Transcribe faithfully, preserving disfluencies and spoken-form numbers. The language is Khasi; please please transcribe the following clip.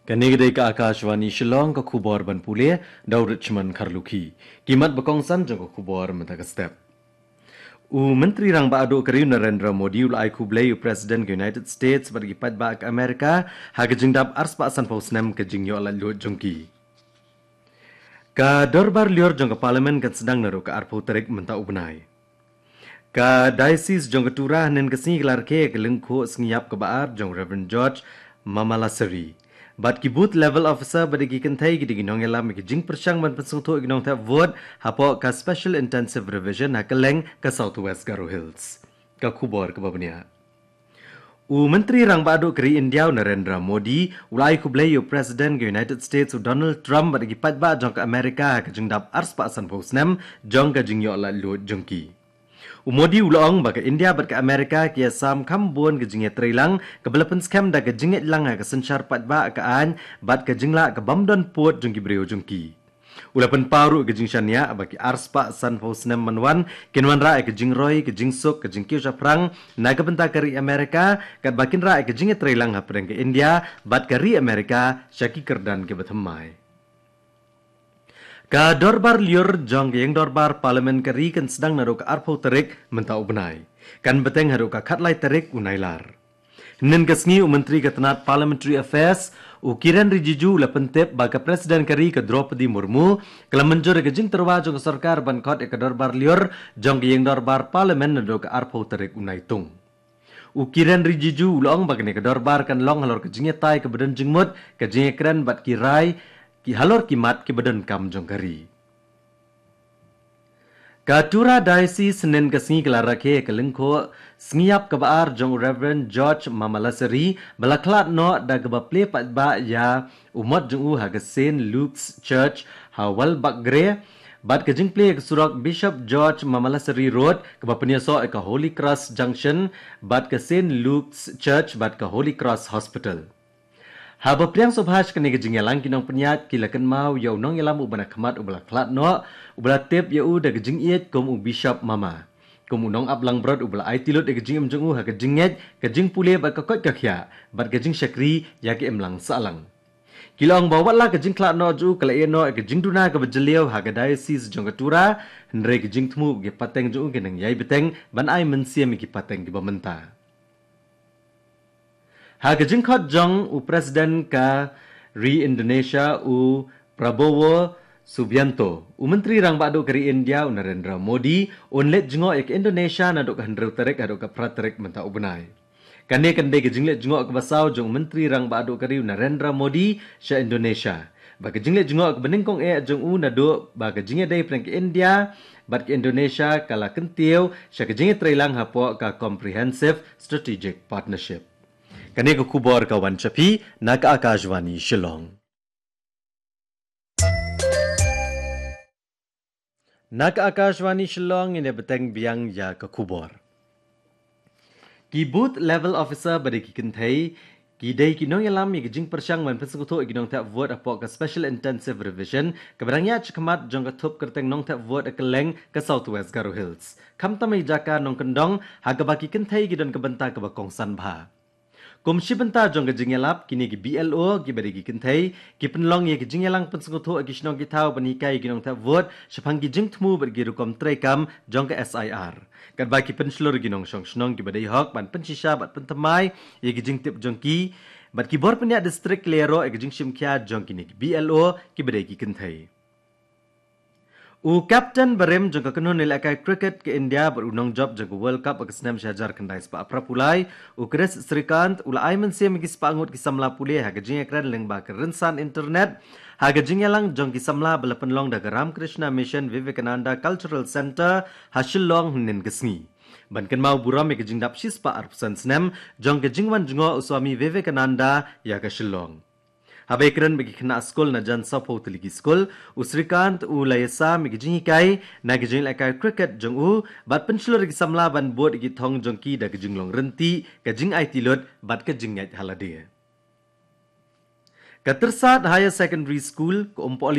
Kane ka dei ka Akashvani Shillong, ka khubor ban pule da u Richmond Kharlukhi. Ki mat ba kongsan jong ka khubor mynta ka step. U Myntri Rangbah Duh ka ri u Narendra Modi u la ai khublei ïa u President ka United States bad ki paidbah ka Amerika ha ka jingdap arspah sanphew snem ka jingïoh laitluid jong ki. Ka dorbar lyiur jong ka Parliament kan sdang naduh ka arphew tarik mynta u bnai. Ka Diocese jong ka Tura hynnin ka sngi ka la rakhe ïa ka lyngkhuh sngi ïap kaba ar jong Reverend George Mamalassery. Bad ki booth level officer bad ki kynthei ki dei ki nongïalam ïa ka jingpyrshang ban pynsngewthuh ïa ki nongthep vote hapoh ka Special Intensive Revision ha kylleng ka South West Garo Hills. Ka khubor kaba bniah. U Myntri Rangbah Duh ka ri India u Narendra Modi u la ai khublei ïa u President ka United States u Donald Trump bad ki paidbah jong ka Amerika ha ka jingdap arspah sanphew snem jong ka jingïoh laitluid jong ki. U Modi u la ong ba ka India bad ka Amerika ki ïasam kham bun ka jingïatreilang kaba la pynskhem da ka jingïalang ha ka synshar paidbah ka aiñ bad ka jinglah ka bym don pud jong ki briew jong ki. U la pynpaw ruh ka jingshaniah ba ki arspah sanphew snem ban wan kin wanrah ïa ka jingroi, ka jingsuk, ka jingkiew shaphrang na ka bynta ka ri Amerika, katba kin rah ïa ka jingïatreilang hapdeng ka India bad ka ri Amerika sha ki kyrdan kiba thymmai. Ka dorbar lyiur jong ka ïing dorbar Parliament ka ri kan sdang naduh ka arphew tarik mynta u bnai, kan bteng haduh ka khatlai tarik u Nailar. Hynnin ka sngi u Myntri ka tnat Parliamentary Affairs u Kiren Rijiju u la pyntip ba ka President ka ri ka Droupadi Murmu ka la mynjur ïa ka jingtyrwa jong ka sorkar ban khot ïa ka dorbar lyiur jong ka ïing dorbar Parliament naduh ka arphew tarik u Naitung. U Kiren Rijiju u la ong ba kane ka dorbar kan long halor ka jingïatai kaba don jingmut, ka jingïakren bad ki rai ki halor ki mat kiba donkam jong ka ri. Ka Tura Diocese hynnin ka sngi ka la rakhe ïa ka lyngkhuh sngi ïap kaba ar jong u Reverend George Mamalassery ba la khlad noh da kaba plie paidbah ïa u mot jong u ha ka Saint Luke's Church ha Walbakgre, bad ka jingplie ïa ka surok Bishop George Mamalassery Road kaba pynïasoh ïa ka Holy Cross Junction bad ka Saint Luke's Church bad ka Holy Cross Hospital. Haba pdiang sngewbha sha kane ka jingïalang, ki nongpynïaid ki la kynmaw ïa u nongïalam uba na khmat uba la khlad noh, uba la tip ïa u da ka jingïeit kum u Bishop Mama, kum u nongap langbrot uba la aiti lut ïa ka jingim jong u ha ka jingngeit, ka jingpule bad ka koit ka khiah bad ka jingshakri ïa ka imlang sahlang. Ki la ong ba wat la ka jingkhlad noh jong u ka la ïeh noh ïa ka jingduna kaba jylliew ha ka Diocese jong ka Tura, hynrei ka jingthmu bad ki pateng jong u ki nang ïai bteng ban ai mynsiem ïa ki pateng kiba mynta. Ha ka jingkhot jong u President ka ri Indonesia u Prabowo Subianto, u Myntri Rangbah Duh ka ri India u Narendra Modi un leit jngoh ïa ka Indonesia naduh ka hynriew tarik haduh ka phra tarik mynta u bnai. Kane kan dei ka jingleit jngoh kaba saw jong u Myntri Rangbah Duh ka ri u Narendra Modi sha Indonesia. Ba ka jingleit jngoh kaba nyngkong eh jong u naduh ba ka jingïadei pdeng ka India bad ka Indonesia ka la kyntiew sha ka jingïatreilang hapoh ka Comprehensive Strategic Partnership. Kane ka khubor ka wan sha phi na ka Akashvani Shillong. Na ka Akashvani Shillong, ngin ïa bteng biang ïa ka khubor. Ki booth level officer bad ki kynthei ki dei ki nongïalam ïa ka jingpyrshang ban pynsngewthuh ïa ki nongthep vote hapoh ka Special Intensive Revision kaba dang ïaid shakhmat jong ka thup kyrteng nongthep vote ha kylleng ka South West Garo Hills, khamtam ha ki jaka nongkyndong ha kaba ki kynthei ki don ka bynta kaba kongsan bha. Kum shi bynta jong ka jingïalap, kine ki B L O kiba dei ki kynthei ki pynlong ïa ka jingïalang pynsngewthuh ha ki shnong ki thaw ban hikai ïa ki nongthep vote shaphang ki jingthmu bad ki rukom treikam jong ka S I R, katba ki pynshlur ïa ki nongshong shnong kiba dei hok ban pynshisha bad pynthymmai ïa ki jingtip jong ki. Bad ki bor pynïaid district ki la ïaroh ïa ka jingshim khia jong kine ki B L O kiba dei ki kynthei. U kapten barim jong ka kynhun ïalehkai cricket ka India bad u nongjop jong ka World Cup ha ka snem shi hajar khyndai spah phra phew lai, u Chris Srikanth, u la ai mynsiem ïa ki spah ngut ki samla pule ha ka jingïakren lyngba ka rynsan internet ha ka jingïalang jong ki samla ba la pynlong da ka Ramakrishna Mission Vivekananda Cultural Centre ha Shillong hynnin ka sngi, ban kynmaw burom ïa ka jingdap shispah arphew san snem jong ka jingwan jngoh u Swami Vivekananda ïa ka Shillong. Haba ïakren bad ki khynnah skul na jan sawphew tylli ki skul, u Srikanth u la ïasam ïa ka jinghikai na ka jingïalehkai cricket jong u bad pynshlur ïa ki samla ban bud ïa ki thong jong ki da ka jinglong ryntih, ka jingaiti lut bad ka jingngeit ha lade. Ka Tyrsad Higher Secondary School, ka Umpohli